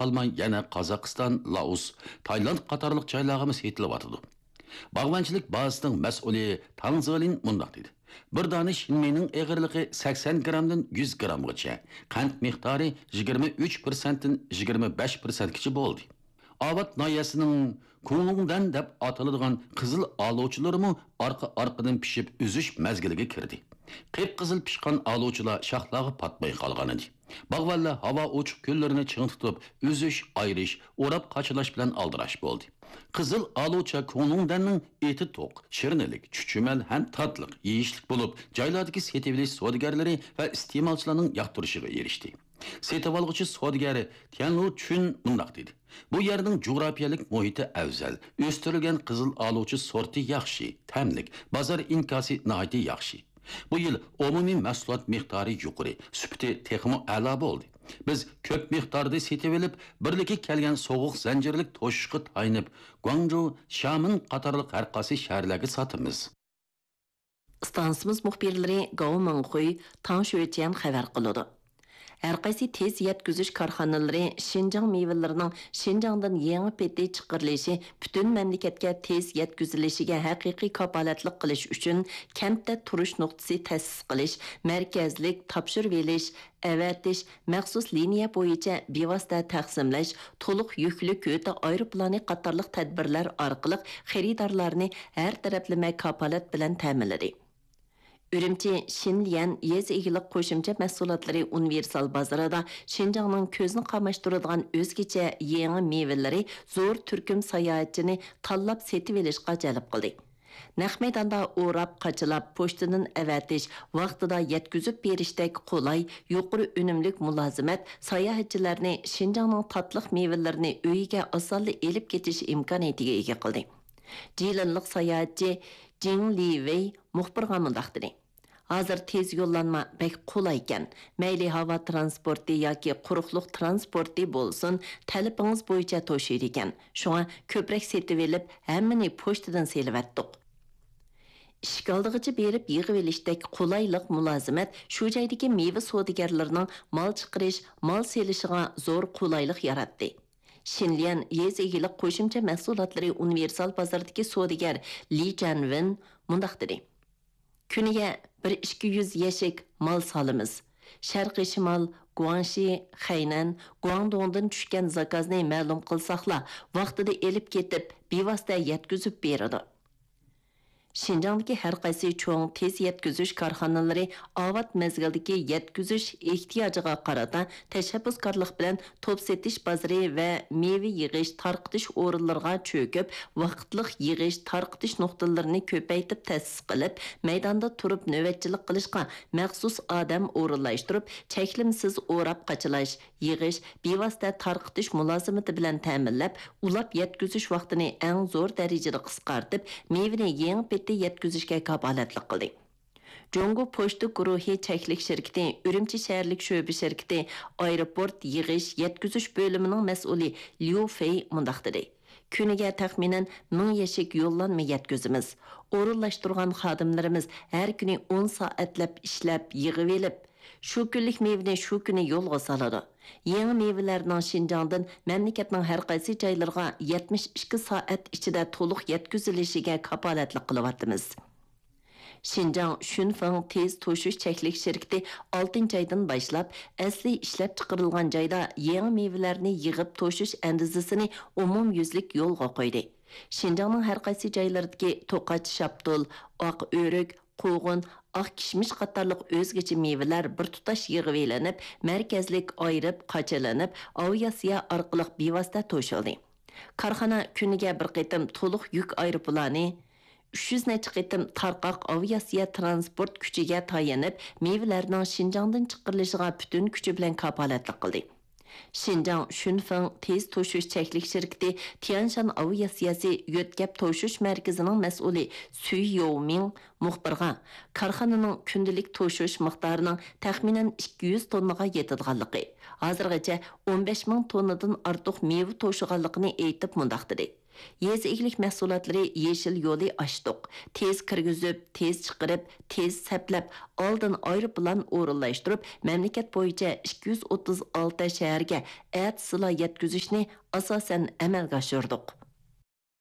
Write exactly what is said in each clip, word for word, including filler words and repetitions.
قالماي يەنە قازاقىستان، لائوس، تايلاند قاتارلىق جايلارغىمۇ سېتىلىۋاتىدۇ. باغۋەنچىلىك بازىسىنىڭ مەسئۇلى تاڭ زېلىن مۇنداق دېدى: بىر دانە شىنمېينىڭ ئېغىرلىقى سەكسەن گىرامدىن يۈز گىرامغىچە، قەنت مىقدارى يىگىرمە ئۈچ پىرسەنتتىن يىگىرمە بەش پىرسەنتكىچە بولدى. ئاۋات ناھىيەسىنىڭ كۇڭلۇڭدەن دەپ ئاتىلىدىغان قىزىل ئالۇچىلىرىمۇ ئارقا-ئارقىدىن پىشىپ ئۈزۈش مەزگىلىگە كىردى. قىپقىزىل پىشقان ئالۇچىلار شاخلارغا پاتماي قالغانىدى. باغۋەنلەر ھاۋا ئوچۇق كۈنلىرىنى چىڭ تۇتۇپ، ئۈزۈش، ئايرىش، ئوراپ قاچىلاش بىلەن ئالدىراش بولدى. قىزىل ئالۇچا كۇڭلۇڭدەننىڭ ئېتى توق، شىرنىلىك، چۈچۈمەل ھەم تاتلىق، يېيىشلىك بولۇپ، جايلاردىكى سېتىۋېلىش سودىگەرلىرى ۋە ئىستېمالچىلارنىڭ ياقتۇرۇشىغا ئېرىشتى. سېتىۋالغۇچى سودىگەر تيەنلۇ چۈن مۇنداق دېدى: بۇ يەرنىڭ جۇغراپىيەلىك مۇھىتى ئەۋزەل، ئۆستۈرۈلگەن قىزىل ئالۇچا سورتى ياخشى، تەملىك، بازار ئىنكاسى ناھايىتى ياخشى. بۇ يىل ئومۇمىي مەھسۇلات مىقدارى يۇقىرى، سۈپىتى تېخىمۇ ئەلا بولدى. بىز كۆپ مىقداردا سېتىۋېلىپ، بىرلىككە كەلگەن سوغۇق زەنجىرلىك توشۇشقا تايىنىپ، گۇاڭجۇ، شيامېن قاتارلىق ھەر قايسى شەھەرلەرگە ساتىمىز. ئىستانسىمىز مۇخبىرلىرى گاۋ مىڭخۇي، تاڭ شۆچيەن خەۋەر قىلىدۇ. ھەر قايسى تېز يەتكۈزۈش كارخانىلىرى شىنجاڭ مېۋىلىرىنىڭ شىنجاڭدىن يېڭى پېتى چىقىرىلىشى پۈتۈن مەملىكەتكە تېز يەتكۈزۈلۈشىگە ھەقىقىي كاپالەتلىك قىلىش ئۈچۈن كەنتتە تۇرۇش نۇقتىسى تەسىس قىلىش، مەركەزلىك تاپشۇرۇۋېلىش، ئەۋەتىش، مەخسۇس لىنىيە بويىچە بىۋاسىتە تەقسىملەش، تولۇق يۈكلۈك ھۆددە ئايروپىلانى قاتارلىق تەدبىرلەر ئارقىلىق خېرىدارلارنى ھەر تەرەپلىمە كاپالەت بىلەن تەمىنلىدى. ئۈرۈمچى شىنليەن يېزا ئىگىلىك قوشۇمچە مەھسۇلاتلىرى ئۇنىۋېرسال بازىرىدا شىنجاڭنىڭ كۆزنى قاماشتۇرىدىغان ئۆزگىچە يېڭى مېۋىلىرى زور تۈركۈم ساياھەتچىنى تاللاپ سېتىۋېلىشقا جەلپ قىلدى. نەق مەيداندا ئوراپ، قاچىلاپ، پوچتىدىن ئەۋەتىش، ۋاقتىدا يەتكۈزۈپ بېرىشتەك قولاي، يۇقىرى ئۈنۈملۈك مۇلازىمەت ساياھەتچىلەرنى شىنجاڭنىڭ تاتلىق مېۋىلىرىنى ئۆيىگە ئاسانلا ئېلىپ كېتىش ئىمكانىيىتىگە ئىگە قىلدى. جىلىنلىق ساياھەتچى جىڭ لىۋېي مۇخبىرغا مۇنداق دېدى: ھازىر تېز يوللانما بەك قولايكەن. مەيلى ھاۋا تىرانسپورتى ياكى قۇرۇقلۇق تىرانسپورتى بولسۇن، تەلىپىڭىز بويىچە توشۇيدىكەن. شۇڭا كۆپرەك سېتىۋېلىپ، ھەممىنى پوچتىدىن سېلىۋەتتۇق. ئىشىك ئالدىغىچە بېرىپ يىغىۋېلىشتەك قولايلىق، مۇلازىمەت شۇ جايدىكى مېۋە سودىگەرلىرىنىڭ مال چىقىرىش، مال سېلىشىغا زور قولايلىق ياراتتى. شىنليەن يېزا ئىگىلىك قوشۇمچە مەھسۇلاتلىرى ئۇنىۋېرسال بازىرىدىكى سودىگەر لى جەنۋېن مۇنداق دېدى: كۈنىگە بىر ئىككى يۈز يەشىك مال سالىمىز. شەرقىي شىمال، گۇاڭشى، خەينەن، گۇاڭدۇڭدىن چۈشكەن زاكازنى مەلۇم قىلساقلا، ۋاقتىدا ئېلىپ كېتىپ، بىۋاسىتە يەتكۈزۈپ بېرىدۇ. شىنجاڭدىكى ھەر قايسى چوڭ تېز يەتكۈزۈش كارخانىلىرى ئاۋات مەزگىلدىكى يەتكۈزۈش ئېھتىياجىغا قارىتا تەشەببۇسكارلىق بىلەن توپ سېتىش بازىرى ۋە مېۋە يىغىش، تارقىتىش ئورۇنلىرىغا چۆكۈپ، ۋاقىتلىق يىغىش، تارقىتىش نۇقتىلىرىنى كۆپەيتىپ تەسىس قىلىپ، مەيداندا تۇرۇپ نۆۋەتچىلىك قىلىشقا مەخسۇس ئادەم ئورۇنلاشتۇرۇپ، چەكلىمىسىز ئوراپ قاچىلاش، يىغىش، بىۋاسىتە تارقىتىش مۇلازىمىتى بىلەن تەمىنلەپ، ئۇلاپ يەتكۈزۈش ۋاقتىنى ئەڭ زور دەرىجىدە قىسقارتىپ، مېۋىنى يېڭى پېتى يەتكۈزۈشكە كاپالەتلىك قىلدى. جۇڭگو پوچتا گۇرۇھى چەكلىك شىركىتى ئۈرۈمچى شەھەرلىك شۆبە شىركىتى ئايروپورت يىغىش، يەتكۈزۈش بۆلۈمىنىڭ مەسئۇلى ليۇ فېي مۇنداق دېدى: كۈنىگە تەخمىنەن مىڭ يەشىك يوللانما يەتكۈزىمىز. ئورۇنلاشتۇرغان خادىملىرىمىز ھەر كۈنى ئون سائەتلەپ ئىشلەپ، يىغىۋېلىپ، شۇ كۈنلۈك مېۋىنى شۇ كۈنى يولغا سالىدۇ. يېڭى مېۋىلەرنىڭ شىنجاڭدىن مەملىكەتنىڭ ھەر قايسى جايلىرىغا يەتمىش ئىككى سائەت ئىچىدە تولۇق يەتكۈزۈلۈشىگە كاپالەتلىك قىلىۋاتىمىز. شىنجاڭ شۈنفېڭ تېز توشۇش چەكلىك شىركىتى ئالتىنچى ئايدىن باشلاپ ئەسلى ئىشلەپچىقىرىلغان جايدا يېڭى مېۋىلەرنى يىغىپ توشۇش ئەندىزىسىنى ئومۇميۈزلۈك يولغا قويدى. شىنجاڭنىڭ ھەر قايسى جايلىرىدىكى توقاچ شاپتۇل، ئاق ئۆرۈك، قوغۇن، ئاق كىشمىش قاتارلىق ئۆزگىچە مېۋىلەر بىر تۇتاش يىغىۋېلىنىپ، مەركەزلىك ئايرىپ قاچىلىنىپ، ئاۋىئاتسىيە ئارقىلىق بىۋاسىتە توشۇلدى. كارخانا كۈنىگە بىر قېتىم تولۇق يۈك ئايروپىلانى، ئۈچ يۈز نەچچە قېتىم تارقاق ئاۋىئاتسىيە تىرانسپورت كۈچىگە تايىنىپ، مېۋىلەرنىڭ شىنجاڭدىن چىقىرىلىشىغا پۈتۈن كۈچى بىلەن كاپالەتلىك قىلدى. شىنجاڭ شۈنفېڭ تېز توشۇش چەكلىك شىركىتى تيەنشان ئاۋىئاتسىيەسى يۆتكەپ توشۇش مەركىزىنىڭ مەسئۇلى سۈي يوۋمىڭ مۇخبىرغا، كارخانىنىڭ كۈندىلىك توشۇش مىقدارىنىڭ تەخمىنەن ئىككى يۈز توننىغا يېتىدىغانلىقى، ھازىرغىچە ئون بەش مىڭ توننىدىن ئارتۇق مېۋە توشۇغانلىقىنى ئېيتىپ مۇنداق دېدى: يېزا ئىگىلىك مەھسۇلاتلىرى يېشىل يولى ئاچتۇق. تېز كىرگۈزۈپ، تېز چىقىرىپ، تېز سەپلەپ، ئالدىن ئايروپىلان ئورۇنلاشتۇرۇپ، مەملىكەت بويىچە ئىككى يۈز ئوتتۇز ئالتە شەھەرگە ئەتىسىلا يەتكۈزۈشنى ئاساسەن ئەمەلگە ئاشۇردۇق.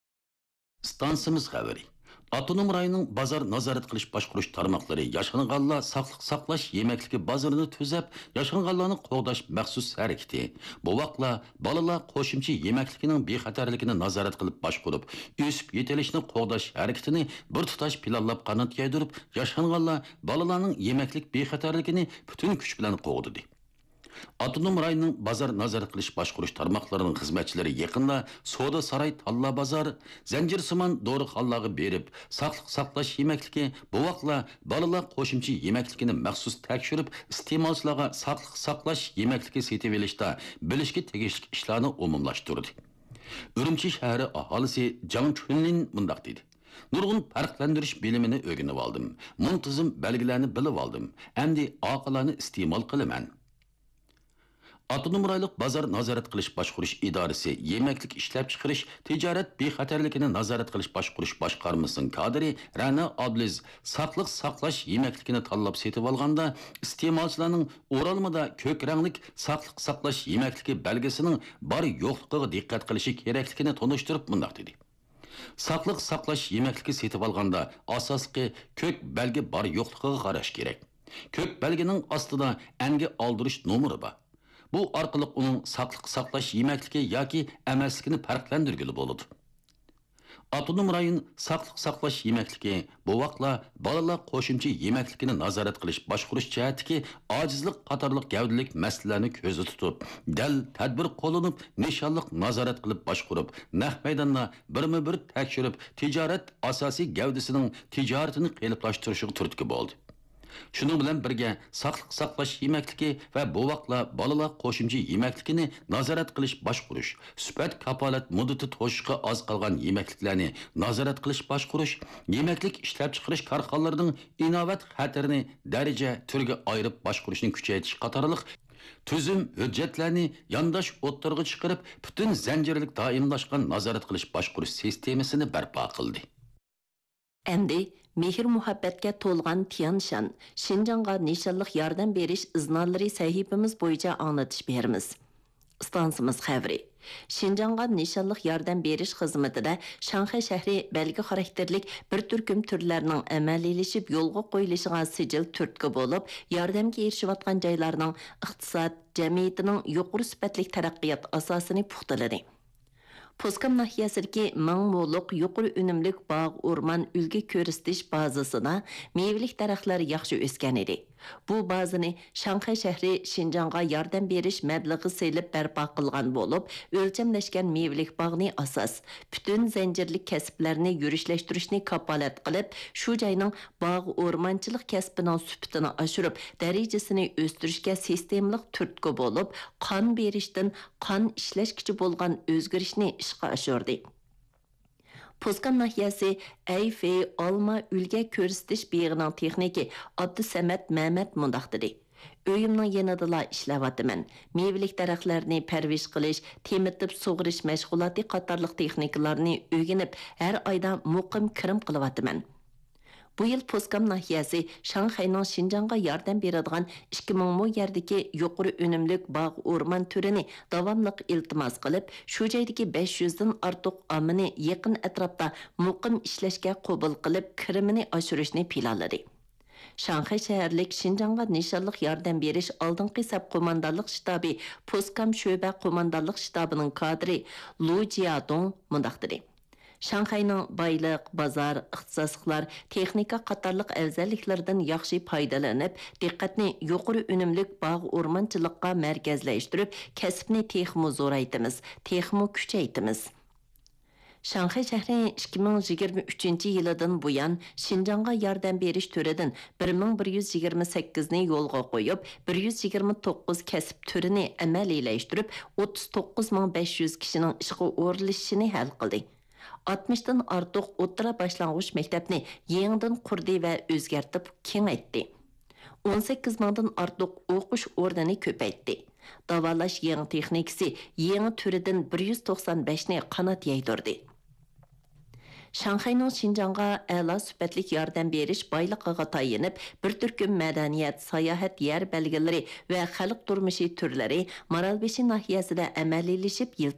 ئىستانسىمىز خەۋىرى. ئاپتونوم رايوننىڭ بازار نازارەت قىلىش باشقۇرۇش تارماقلىرى ياشانغانلار ساقلىق ساقلاش يېمەكلىكى بازىرىنى تۈزەپ، ياشانغانلارنى قوغداش مەخسۇس ھەرىكىتى، بوۋاقلار، بالىلار قوشۇمچە يېمەكلىكىنىڭ بىخەتەرلىكىنى نازارەت قىلىپ باشقۇرۇپ، ئۆسۈپ يېتىلىشىنى قوغداش ھەرىكىتىنى بىر تۇتاش پىلانلاپ قانات يايدۇرۇپ، ياشانغانلار، بالىلارنىڭ يېمەكلىك بىخەتەرلىكىنى پۈتۈن كۈچ بىلەن قوغدىدى. ئاپتونوم رايوننىڭ بازار نازارەت قىلىش باشقۇرۇش تارماقلىرىنىڭ خىزمەتچىلىرى يېقىندا سودا ساراي تاللا بازار، زەنجىرسىمان دورىخانىلارغا بېرىپ، ساقلىق ساقلاش يېمەكلىكى، بوۋاقلار، بالىلار قوشۇمچە يېمەكلىكىنى مەخسۇس تەكشۈرۈپ، ئىستېمالچىلارغا ساقلىق ساقلاش يېمەكلىكى سېتىۋېلىشتا بىلىشكە تېگىشلىك ئىشلارنى ئومۇملاشتۇردى. ئۈرۈمچى شەھىرى ئاھالىسى جاڭ چۈنلىن مۇنداق دېدى. نۇرغۇن پەرقلەندۈرۈش بىلىمىنى ئۆگىنىۋالدىم. مۇنتىزىم بەلگىلەرنى بىلىۋالدىم. ئەمدى ئاقىلانە ئىستېمال قىلىمەن. ئاپتونوم رايونلۇق بازار نازارەت قىلىش باشقۇرۇش ئىدارىسى يېمەكلىك ئىشلەپچىقىرىش تىجارەت بىخەتەرلىكىنى نازارەت قىلىش باشقۇرۇش باشقارمىسىنىڭ كادىرى رەنا ئابلىز ساقلىق ساقلاش يېمەكلىكىنى تاللاپ سېتىۋالغاندا، ئىستېمالچىلارنىڭ ئورالمىدا كۆك رەڭلىك ساقلىق ساقلاش يېمەكلىكى بەلگىسىنىڭ بار يوقلۇقىغا دىققەت قىلىشى كېرەكلىكىنى تونۇشتۇرۇپ مۇنداق دېدى. ساقلىق ساقلاش يېمەكلىكى سېتىۋالغاندا ئاساسلىقى كۆك بەلگە بار يوقلۇقىغا قاراش كېرەك. كۆك بەلگىنىڭ ئاستىدا ئەنگە ئالدۇرۇش نومۇرى بار. بۇ ئارقىلىق ئۇنىڭ ساقلىق ساقلاش يېمەكلىكى ياكى ئەمەسلىكىنى پەرقلەندۈرگىلى بولىدۇ. ئاپتونوم رايون ساقلىق ساقلاش يېمەكلىكى، بوۋاقلار، بالىلار قوشۇمچە يېمەكلىكىنى نازارەت قىلىش باشقۇرۇش جەھەتتىكى ئاجىزلىق قاتارلىق گەۋدىلىك مەسىلىلەرنى كۆزدە تۇتۇپ، دەل تەدبىر قوللىنىپ، نىشانلىق نازارەت قىلىپ باشقۇرۇپ، نەق مەيداندا بىرمۇ بىر تەكشۈرۈپ، تىجارەت ئاساسىي گەۋدىسىنىڭ تىجارىتىنى قېلىپلاشتۇرۇشىغا تۈرتكە بولدى. شۇنىڭ بىلەن بىرگە، ساقلىق ساقلاش يېمەكلىكى ۋە بوۋاقلار، بالىلار قوشۇمچە يېمەكلىكىنى نازارەت قىلىش باشقۇرۇش، سۈپەت كاپالەت مۇددىتى توشۇشقا ئاز قالغان يېمەكلىكلەرنى نازارەت قىلىش باشقۇرۇش، يېمەكلىك ئىشلەپچىقىرىش كارخانىلىرىنىڭ ئىناۋەت خەتىرىنى دەرىجە، تۈرگە ئايرىپ باشقۇرۇشنى كۈچەيتىش قاتارلىق تۈزۈم، ھۆججەتلەرنى يانداش ئوتتۇرىغا چىقىرىپ، پۈتۈن زەنجىرلىك دائىملاشقان نازارەت قىلىش باشقۇرۇش سىستېمىسىنى بەرپا قىلدى. ئەمدى مېھىر-مۇھەببەتكە تولغان تيەنشان، شىنجاڭغا نىشانلىق ياردەم بېرىش ئىزنالىرى سەھىپىمىز بويىچە ئاڭلىتىش بېرىمىز. ئىستانسىمىز خەۋىرى. شىنجاڭغا نىشانلىق ياردەم بېرىش خىزمىتىدە شاڭخەي شەھىرى بەلگە خاراكتېرلىك بىر تۈركۈم تۈرلەرنىڭ ئەمەلىيلىشىپ يولغا قويۇلۇشىغا سىجىل تۈرتكە بولۇپ، ياردەمگە ئېرىشىۋاتقان جايلارنىڭ ئىقتىساد، جەمئىيىتىنىڭ يۇقىرى سۈپەتلىك تەرەققىيات ئاساسىنى پۇختىلىدى. پوسكام ناھىيەسىدىكى مىڭ مولۇق يۇقىرى ئۈنۈملۈك باغ ئورمان ئۈلگە كۆرسىتىش بازىسىدا مېۋىلىك دەرەخلەر ياخشى ئۆسكەن ئىدى. بۇ بازىنى شاڭخەي شەھىرى شىنجاڭغا ياردەم بېرىش مەبلىغى سېلىپ بەرپا قىلغان بولۇپ، ئۆلچەملەشكەن مېۋىلىك باغنى ئاساس، پۈتۈن زەنجىرلىك كەسىپلەرنى يۈرۈشلەشتۈرۈشنى كاپالەت قىلىپ، شۇ جاينىڭ باغ ئورمانچىلىق كەسپىنىڭ سۈپىتىنى ئاشۇرۇپ، دەرىجىسىنى ئۆستۈرۈشكە سىستېمىلىق تۈرتكە بولۇپ، قان بېرىشتىن قان ئىشلەشكىچە بولغان ئۆزگىرىشنى ئىشقا ئاشۇردى. پوسكام ناھىيەسى ئەيفېي ئالما ئۈلگە كۆرسىتىش بېغىنىڭ تېخنىكى ئابدۇسەمەت مەمەت مۇنداق دېدى: ئۆيۈمنىڭ يېنىدىلا ئىشلەۋاتىمەن. مېۋىلىك دەرەخلەرنى پەرۋىش قىلىش، تېمىتىپ سۇغىرىش مەشغۇلاتى قاتارلىق تېخنىكىلارنى ئۆگىنىپ، ھەر ئايدا مۇقىم كىرىم قىلىۋاتىمەن. بۇ يىل پوسكام ناھىيەسى شاڭخەينىڭ شىنجاڭغا ياردەم بېرىدىغان ئىككى مىڭ مو يەردىكى يۇقىرى ئۈنۈملۈك باغ ئورمان تۈرىنى داۋاملىق ئىلتىماس قىلىپ، شۇ جايدىكى بەش يۈزدىن ئارتۇق ئاممىنى يېقىن ئەتراپتا مۇقىم ئىشلەشكە قوبۇل قىلىپ، كىرىمىنى ئاشۇرۇشنى پىلانلىدى. شاڭخەي شەھەرلىك شىنجاڭغا نىشانلىق ياردەم بېرىش ئالدىنقى سەپ قوماندانلىق شتابى پوسكام شۆبە قوماندانلىق شتابىنىڭ كادىرى لۇ جيادۇڭ مۇنداق دېدى: شاڭخەينىڭ بايلىق، بازار، ئىختىساسلىقلار، تېخنىكا قاتارلىق ئەۋزەللىكلىرىدىن ياخشى پايدىلىنىپ، دىققەتنى يۇقىرى ئۈنۈملۈك باغ ئورمانچىلىققا مەركەزلەشتۈرۈپ، كەسىپنى تېخىمۇ زورايتىمىز، تېخىمۇ كۈچەيتىمىز. شاڭخەي شەھىرى ئىككى مىڭ يىگىرمە ئۈچىنچى يىلىدىن بۇيان شىنجاڭغا ياردەم بېرىش تۈرىدىن بىر مىڭ بىر يۈز يىگىرمە سەككىزنى يولغا قويۇپ، بىر يۈز يىگىرمە توققۇز كەسىپ تۈرىنى ئەمەلىيلەشتۈرۈپ، ئوتتۇز توققۇز مىڭ بەش يۈز كىشىنىڭ ئىشقا ئورۇنلىشىشىنى ھەل قىلدى. ئاتمىشتىن ئارتۇق ئوتتۇرا باشلانغۇچ مەكتەپنى يېڭىدىن قۇردى ۋە ئۆزگەرتىپ كېڭەيتتى. ئون سەككىز مىڭدىن ئارتۇق ئوقۇش ئورنىنى كۆپەيتتى. داۋالاش يېڭى تېخنىكىسى يېڭى تۈرىدىن بىر يۈز توقسان بەشنى قانات يايدۇردى. شاڭخەينىڭ شىنجاڭغا ئەلا سۈپەتلىك ياردەم بېرىش بايلىقىغا تايىنىپ، بىر تۈركۈم مەدەنىيەت، ساياھەت يەر بەلگىلىرى ۋە خەلق تۇرمۇشى تۈرلىرى مارالبېشى ناھىيەسىدە ئەمەلىيلىشىپ يىل